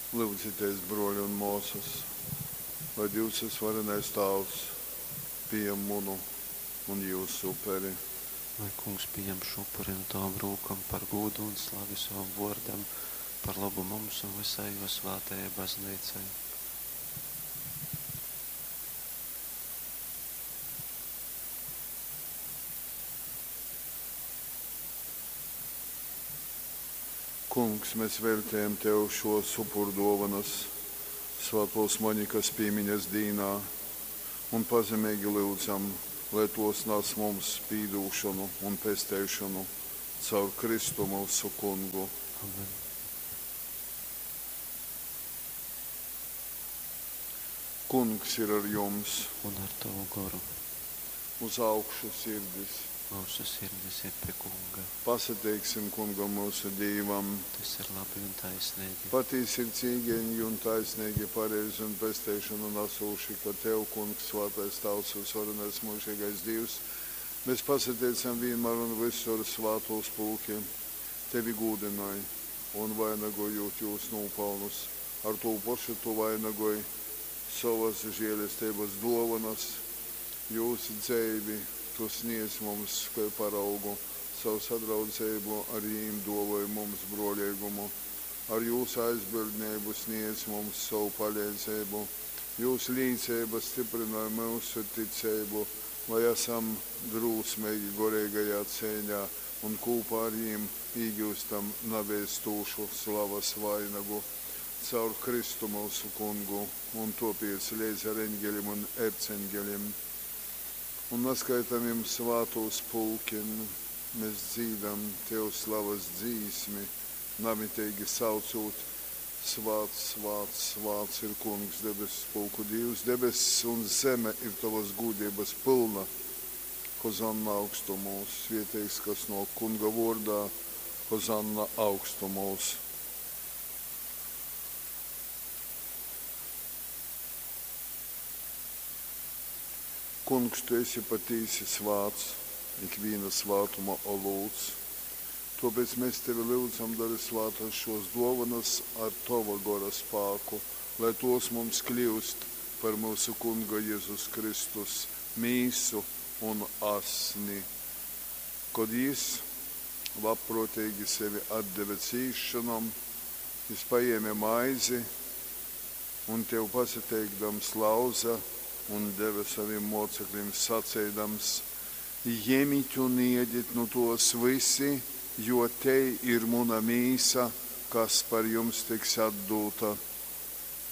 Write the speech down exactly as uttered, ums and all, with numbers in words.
Lyudzitēs, brōli un mōsas, lai Dīvs vysvarenais Tāvs pījam munu un jyusu uperi. Lai Kungs pījam šū upuri nu tovom rūkom par gūdu un slavi sovam vōrdam, par lobu mums un vysai jō svātajai Bazneicai. Kungs, mēs veltejam tev šōs upurdōvonas svātōs Monikas pīmiņas dīnā un pazemeigi lyudzam, lai tōs nas mums pīdūšonu un pesteišonu caur Kristu myusu Kungu. Amen. Kungs ir ar jums. Un ar tovu goru. Uz augšu sirdis. Myusu sirdis ir pie Kunga. Pasateiksim Kungam, myusu Dīvam. Tas ir labi un taisneigi. Patīsi ir cīgeņgi un taisneigi, pareizi un pesteišonu nasūši, ka tev, Kungs, svātais Tāvs, vysvarenais myužeigais Dīvs, mes pasateicam vīnmār un vysur svātūs pulki tevi gūdynoj, un, vainagojūt jūs nūpalnus, ar tū pošu tu vainagoj sovas želesteibas dōvonas, jūs dzeivi tu sniedz mums kai paraugu, caur sadraudzeibu ar jim dōvoj mums brōleigumu, ar jūs aizbildneibu sniedz mums sovu paleidzeibu, jūs līceiba styprynoj myusu ticeibu, lai asam drūsmeigi goreigajā ceiņā un kūpā ar jim īgyustam naveistūšu slavas vainagu. Caur Kristu myusu Kungu. Un tōpēc leidz ar eņgelim un erceņgelim un naskaitamim svātūs pulkim mes dzīdam tev slavas dzīsmi, namiteigi saucūt, Svāts, svāts, svāts ir Kungs, debesu pulku Dīvs, debess un zeme ir tovas gūdeibas pylna. Hozanna augstumūs, svieteigs, kas nōk Kunga vōrdā, Hozanna augstumūs. Kungs, tu esi patīsi svāts, ikvīna svātuma olūts. Tōpēc mēs tevi lyudzam, dori svātas šōs dōvonas ar tova Gora spāku, lai tōs mums kļyust par myusu Kunga Jezus Kristus mīsu un asni. Kod jys labprōteigi sevi atdeve cīsšonom, jys pajēme maizi un, tev pasateikdams, lauze un deve sovim mōceklim, saceidams, Jemit un ēdit nu tōs vysi, jo tei ir muna mīsa, kas par jums tiks atdūta.